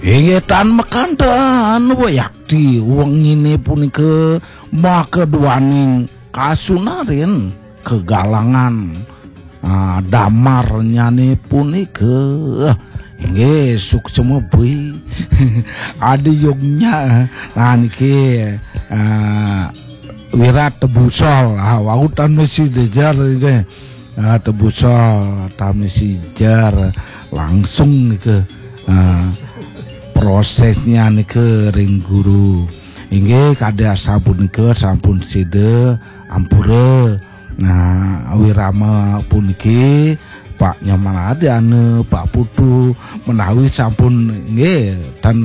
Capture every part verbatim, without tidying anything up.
Inggih tan makanten wayakti wengine punika maka duaning kasunarin kegalangan ah, damarnyane punika. Inggih suksma bui. Adi yognya nah niki ah, wirat tebusol ah, wau tan mesti dejar ini ah, tebusol tamisi jer langsung nika ah, prosesnya nika ring guru. Inggih kadi asapunika sampun sida ampura nah wirama puniki Pak Nyaman Adiana, Pak Putu menawi sampun nggih dan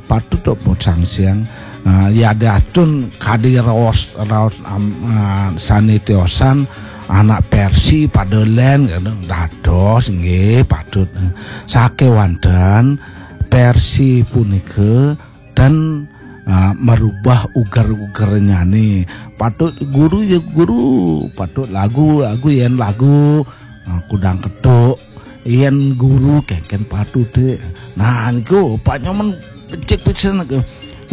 patut pun sangsiang uh, ya datun kadi raos raos um, uh, sane tiosan anak Persi pada len dados nggih patut sakewanten Persi punika dan uh, merubah uger-ugernyane patut guru ya guru patut lagu lagu yen lagu uh, kudang ketuk yen guru kengken patute nah niku Pak Nyoman becik pisan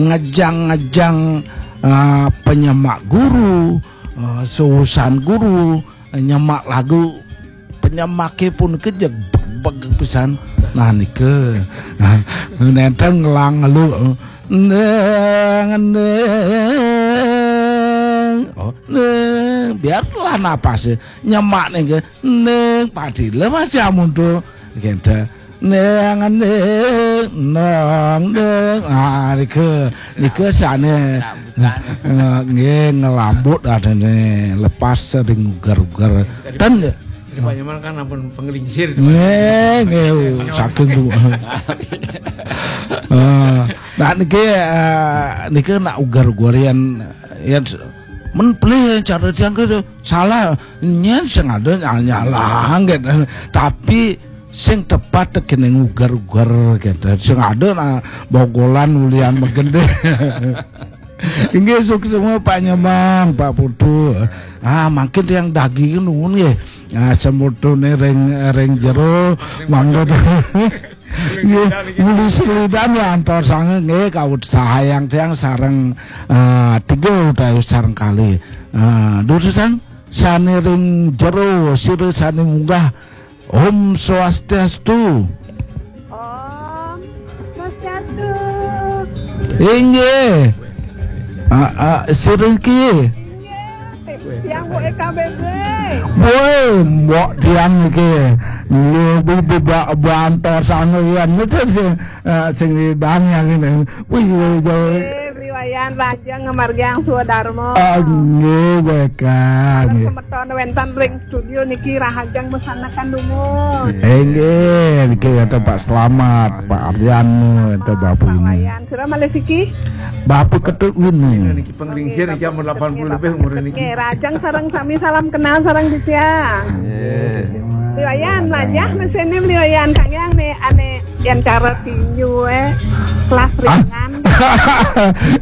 ngejang-ngejang uh, penyemak guru uh, suusan guru nyemak lagu penyemake pun kejeg beg pisan nah nika nenten ngelang ngelu neng neng oh neng biarlah napas nyemak nih neng padile masih amun tuh gitu neng neng neng neng ah nika nika sane nggih ngelambut adene lepas sering ugar-ugar dan Pak Nyoman kan ampun penglingsir. Nggih, nggih saking bu. Ah, nah niki eh, niki nak ugar-ugar yang yang men pelih cara tiang ke salah nyen sing ada nyalah gitu. Tapi sing tepat kene ugar-ugar gitu. Sing ada nak bogolan ulian megende. Inggih suksma Pak Nyemang, Pak Putu. Ah, makin yang daging nuwun nggih. Ah, semutune ring ring jero mangga. Nggih, muli selidan ya antar sange nggih kawut sahayang tiang sareng ah, tiga utawi sareng kali. Ah, durusang sane ring jero sira sane munggah Om Swastiastu. Om Swastiastu. Inggih. Ah, ah, sira iki. Inggih. Tiang Bu E K B B. Woi, mbok tiang iki. Lebih bebak bantor sana ya. Ngerti sih. Ah, sing didang yang ini. Wih, jauh. Nggih, Bli Wayan Rajeng ngamargiang swadarma. Ah, nggih, weka, nggih. Semeton wenten ring studio niki rahajeng mesanakan dumun. Eh, nggih, niki wenten Pak Selamat, Pak Ardian, wenten Bapak ini. Wayan, sira malih siki? Bapak Ketut ini. Niki penglingsir niki ampun delapan puluh lebih umur niki. Nggih, rajeng sareng sami salam kenal sareng titiang. Nggih. Bli Wayan, lajah mesene Bli Wayan kang yang ne ane Yen cara tinju eh kelas ringan.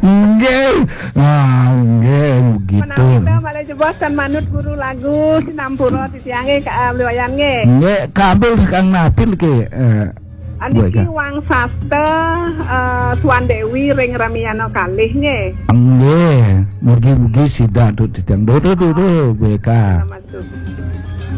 Nggih. Ah, nggih begitu. Menawi malih jebos tan manut guru lagu sinampura titiange ka Bli Wayan nggih. Nggih, kambil kang napin ke eh, Aniki Wang Sasta eh, Tuan Dewi ring Ramiana kalih nggih. Nggih, mugi-mugi sida tu titiang dodo dodo B K. Nama tu.